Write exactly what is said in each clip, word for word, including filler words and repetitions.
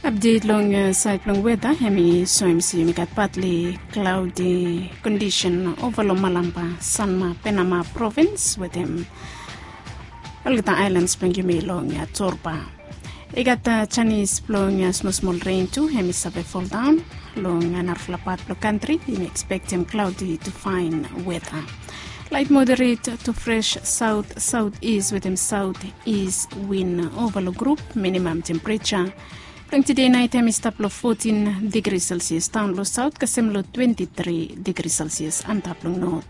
Apdet long saed blong weda hem i soem se yumi gat patli klaudi kondisen ova long Malamba, Sanma, Penama provins wetem olgeta aelans blong yumi long Torba. I gat janis blong smosmol ren tu hem i save foldaon long narafala pat blong kantri. Yumi ekspektem klaudi tu faen weda. Laet moderet tu fres saot saot is wetem saot is win ova long grup. Minimam tempereja blong tide naet hem i stap long fotin digri selsias daon long saot kasem long twenti tri digri selsias antap long not.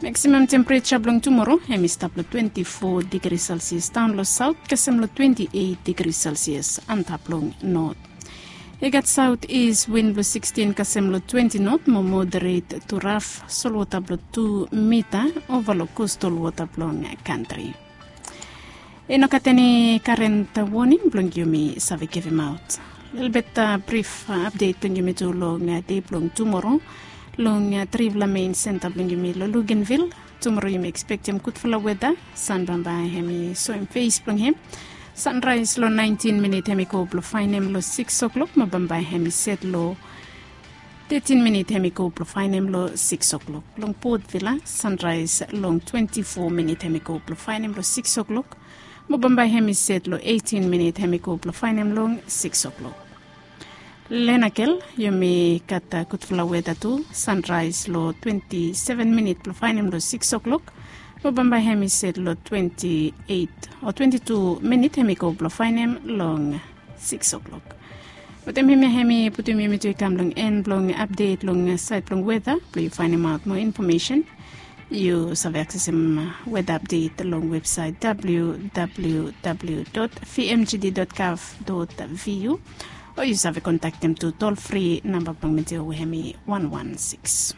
Maksimam tempereja blong tumoro hem i stap long twenti fo digri selsias daon long saot kasem long twenti eit digri selsias antap long not. I gat saot is win blong sikstin kasem long twenti not mo moderet tu raf solwota blong tu mita ova long kostal wota blong kantri. I no gat eni karen woning blong yumi save givimaot. Lelebet brif apdet blong yumi tu long dei blong tumoro long trifala mein senta blong yumi long Luganville. Tumoro yumi ekspektem gudfala weda. San bambae hem i soem fes blong hem. Sanraes long naentin minit hem i go blong faenem long sikis oklok mo bambae hem i set long tetin minit hem i go blong faenem long sikis oklok. Long Port Vila sanraes long twenti fo minit hem i go blong faenem long sikis oklok mo bambae hem i set long eitin minit hem i go blong faenem long sikis oklok. Lenakel yumi gat gudfala weda tu. Sanraes long twenti seven minit blong faenem long sikis oklok mo bambae hem i set long twenti eit o twenti tu minit hem i go blong faenem long sikis oklok. Wetem hemia hem i putum yumi tu i kam long en blong apdet long saed blong weda. Blong yu faenemaot moa infomesen yu save aksesem weda apdet long websaet www vmgd gov vu o yu save kontaktem tu tol fri namba blong medio we hem i wan wan sikis.